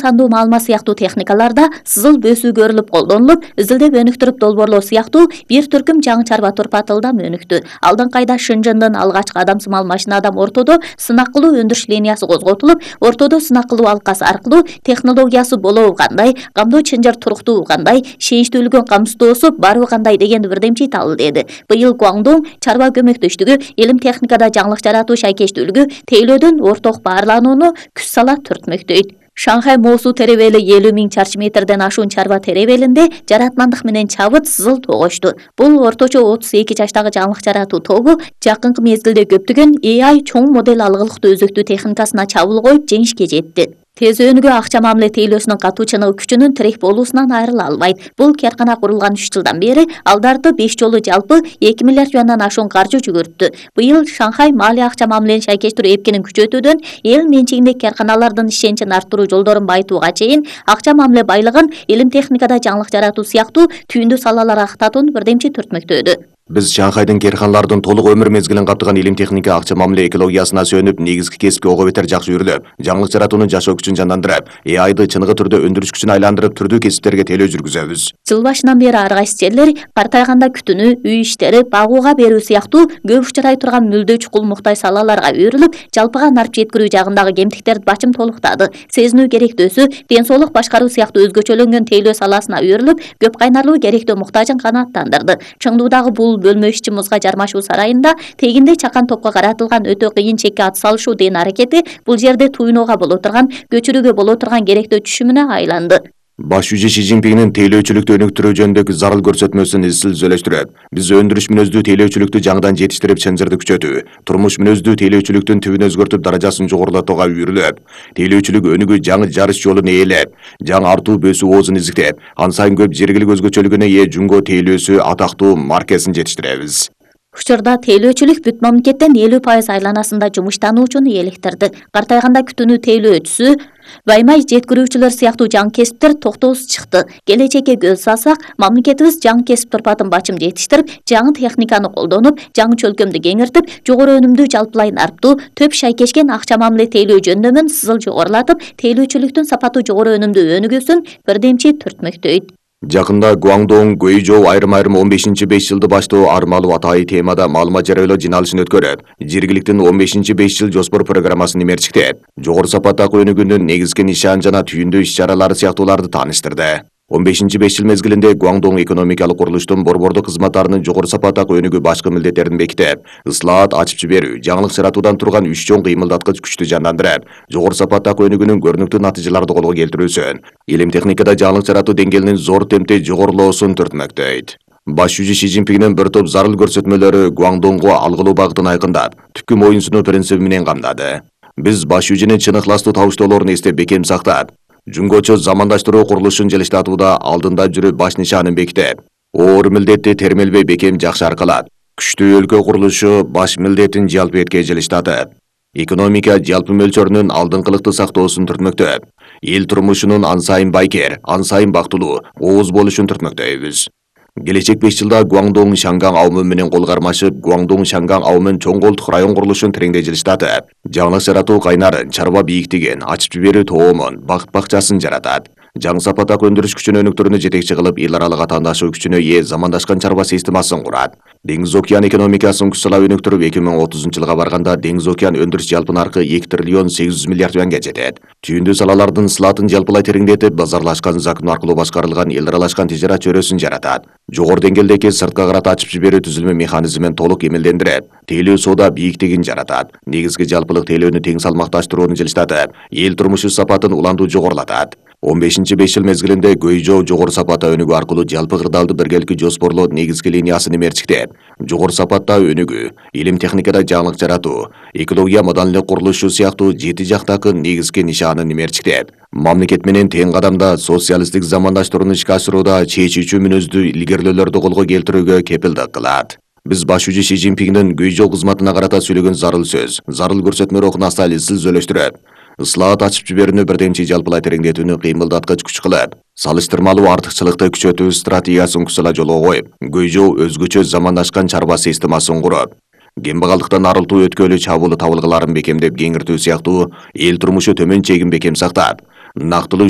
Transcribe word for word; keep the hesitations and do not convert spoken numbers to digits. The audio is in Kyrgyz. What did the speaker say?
нышандуу маалымат сыяктуу техникаларда сызыл бөөсүү көрүлүп колдонулуп, изилдеп өнүктүрүп долбоорлоо сыяктуу бир түркүм жаңы чарба турпатыл да өнүктү. Алдыңкы айда Шынжындын алгачкы адамсымал машина адам ортодо сынак кылуу өндүрүш линиясы козготулуп, ортодо сынак кылуу алкасы аркылуу технологиясы болобу кандай, камдоо чынжыр туруктуу кандай, шейинчтүүлүгүн камсыздоосу барбы кандай деген бирдемчи талдеди. Быйыл Гуандун чарба көмөктөштүгү, илим техникада жаңылык жаратуу шайкештүүлүгү тейлөөдөн орток баарланууну күч сала түртмөктөйт. Шанхай Моосу теребели элүү миң чарчы метрден ашуун чарба теребелинде жаратмандык менен чабыт сызыл тогошту. Бул орточо отуз эки жаштагы жаңылык жаратуу тобу жакынкы мезгилде көптөгөн A I чоң модель алгылыктуу өзөктүү техникасына чабуул коюп жеңишке жетти. Тез өнүгүү акча мамиле тейлөөсүнүн катуу чыныгы күчүнүн тирек болуусунан айрыла албайт. Бул кааркана курулган үч жылдан бери алдарты беш жолу жалпы эки миллиард юандан ашуун каржы жүгүрттү. Быйыл Шанхай малия акча мамилени шайкештирүү эпкинин күчөтүүдөн эл менчигиндеги каарканалардын ишеничин арттыруу жолдорун байытууга чейин акча мамиле байлыгын илим техникада жаңылык жаратуу сыяктуу түйүндүү салаларга катууну бирдемчи түртмөктөдү. Биз Шанхайдын кээрканалардын толук өмүр мезгилин каптаган илим техника акча мамиле экологиясына сүйөнүп, негизги кесипке ого бетер жакшы үйрүлүп, жаңылык жаратуунун жашоо күчүн жандандырып, A I'ды чыныгы түрдө өндүрүш күчүнө айландырып, түрдүү кесиптерге тейлөө жүргүзөбүз. Жыл башынан бери ар кайсы жерлер картайганда күтүүнү, үй иштери, багууга берүү сыяктуу көп учурай турган мүлдө чукул муктай салаларга үйрүлүп, жалпыга нарп жеткирүү жагындагы кемтиктерди бачым толуктады. Сезинүү керектөөсү, ден соолук башкаруу сыяктуу өзгөчөлөнгөн тейлөө саласына үйрүлүп, көп кайнарлуу керектөө муктажын канааттандырды. Чыңдуудагы бул бөлмө ишчи музга жармашуу сарайында тегинде чакан топко каратылган өтө кыйын чекке ат салышуу деген аракети бул жерде туйнууга боло турган, көчүрүүгө боло турган керектөө түшүмүнө айланды. Баш жүзү Ши Цзиньпиндин тейлөөчүлүктү өнүктүрүү жөнүндөгү зарыл көрсөтмөсүн изчил сүйлөштүрөт. Биз өндүрүш мүнөздүү тейлөөчүлүктү жаңыдан жетиштирип, чынжырды күчөтүү, турмуш мүнөздүү тейлөөчүлүктүн түбүн өзгөртүп, даражасын жогорулатууга үйрүлөп, тейлөөчүлүк өнүгүү жаңы жарыш жолун ээлеп, жаңы артуу бөөсүү оозун изиктеп, ан сайын көп жергилик өзгөчөлүгүнө ээ Жунго тейлөөсү атактуу маркесин жетиштиребиз. Учурда тейлөөчүлүк бүт мамлекеттен элүү пайыз айланасында жумуштануучуну электирди. Картайганда күтүүнү тейлөөчүсү, баймай жеткирүүчүлөр сыяктуу жаңы кесиптер токтоосуз чыкты. Келечекке көз салсак, мамлекетибиз жаңы кесип турпатын бачым жетиштирип, жаңы техниканы колдонуп, жаңы чөлкөмдү кеңиртип, жогору өнүмдүү жалпылай нарптуу, төп шайкешкен акча мамиле тейлөө жөндөмүн сызыл жогорулатып, тейлөөчүлүктүн сапаты жогору өнүмдүү өнүгүүсүн бирдемчи түртмөктөйт. Жакында Гуандун, Гуйжоу айрым-айрым он бешинчи беш жылды баштоо армалуу атайы темада маалымат жарыялоо жиналышын өткөрүп, жергиликтин он бешинчи беш жыл жоспор программасын имерчиктеп, жогору сапаттагы өнүгүүнүн негизги нишан жана түйүндүү иш-чаралары сыяктууларды тааныштырды. он бешинчи беш жыл мезгилинде Гуандун экономикалык курулуштун борбордук кызматтарынын жогору сапаттагы өнүгүү башкы милдеттерин бекитип, ыслаат, ачып жиберүү, жаңылык жаратуудан турган үч чоң кыймылдаткыч күчтү жандандырып, жогору сапаттагы өнүгүүнүн көрүнүктүү натыйжаларды колго келтирүүсүн, илим техникада жаңылык жаратуу деңгээлинин зор темпте жогорулоосун түртмөктөйт. Баш жүзү Ши Цзиньпиндин бир топ зарыл көрсөтмөлөрү Гуандунго алгылуу багытын айкындап, түпкү моюнсунуу принциби менен камдады. Биз баш жүзүнүн чын ыхластуу табыштоолорун эстеп бекем сактап, Жунгочо замандаштыруу курулушун желиштатууда алдында жүрүп баш нишанын бекитип, оор милдетти термелбей бекем жакшы аркалап, күчтүү өлкө курулушу баш милдетин жалпы этке желиштатып, экономика жалпы мөлчөрүнүн алдыңкылыкты сактоосун түртмөктөп, эл турмушунун ан сайын байкер, ан сайын бактылуу, ооз болушун түртмөктөйбүз. Келечек беш жылда Гуандун Шанган аумы менен кол кармашып, Гуандун Шанган аумын чоң колдук район курулушун тереңдей желиштатып, жаңылык жаратуу кайнарын, чарба бийиктигин, ачып жиберүү тоомун, бакыт бакчасын жаратат. Жаңы сапаттагы өндүрүш күчүн өнүктүрүүнү жетекчи кылып, эл аралык атаандашуу күчүнө ээ замандашкан чарба системасын курат. Деңиз океан экономикасын күч сала өнүктүрүп, эки миң отузунчу жылга барганда деңиз океан өндүрүш жалпы наркы эки триллион сегиз жүз миллиард юанга жетет. Түйүндүү салалардын сылатын жалпылай тереңдетип, базарлашкан закон аркылуу башкарылган эл аралашкан тижарат чөйрөсүн жаратат. Жогору деңгээлдеги сырткы карата ачып жиберүү түзүлмө механизмин толук эмелдендирип, тейлөө соода бийиктигин жаратат. Негизги жалпылык тейлөөнү тең салмакташтырууну желиштатып, эл турмушу сапатын улантуу жогорулатат. он бешинчи беш жыл мезгилинде Гуйжоу жогору сапатта өнүгүү аркылуу жалпы кырдаалды биргеликти жоспорлоо негизги линиясын имерчиктеп, жогору сапатта өнүгүү, илим техникада жаңылык жаратуу, экология маданилык курулушу сыяктуу жети жактагы негизги нишанын имерчиктеп, мамлекет менен тең кадамда социалисттик замандаштырууну ишке ашырууда чечүүчү мүнөздүү илгерилөөлөрдү колго келтирүүгө кепилдик кылат. Биз баш жүзү Ши Цзиньпиндин Гуйжоу кызматына карата сүйлөгөн зарыл сөз, зарыл көрсөтмө рухуна сай изчил сүйлөштүрөт, ыслаат ачып жиберүүнү бирдемчи жалпылай тереңдетүүнү кыймылдаткыч күч кылып, салыштырмалуу артыкчылыкты күчөтүү стратегиясын күчсала жолго коюп, Гуйжоу өзгөчө замандашкан чарба системасын куруп, кембагалдыктан арылтуу өткөлү чабуулы табылгыларын бекемдеп кеңиртүү сыяктуу эл турмушу төмөн чегин бекем сактап, нактылуу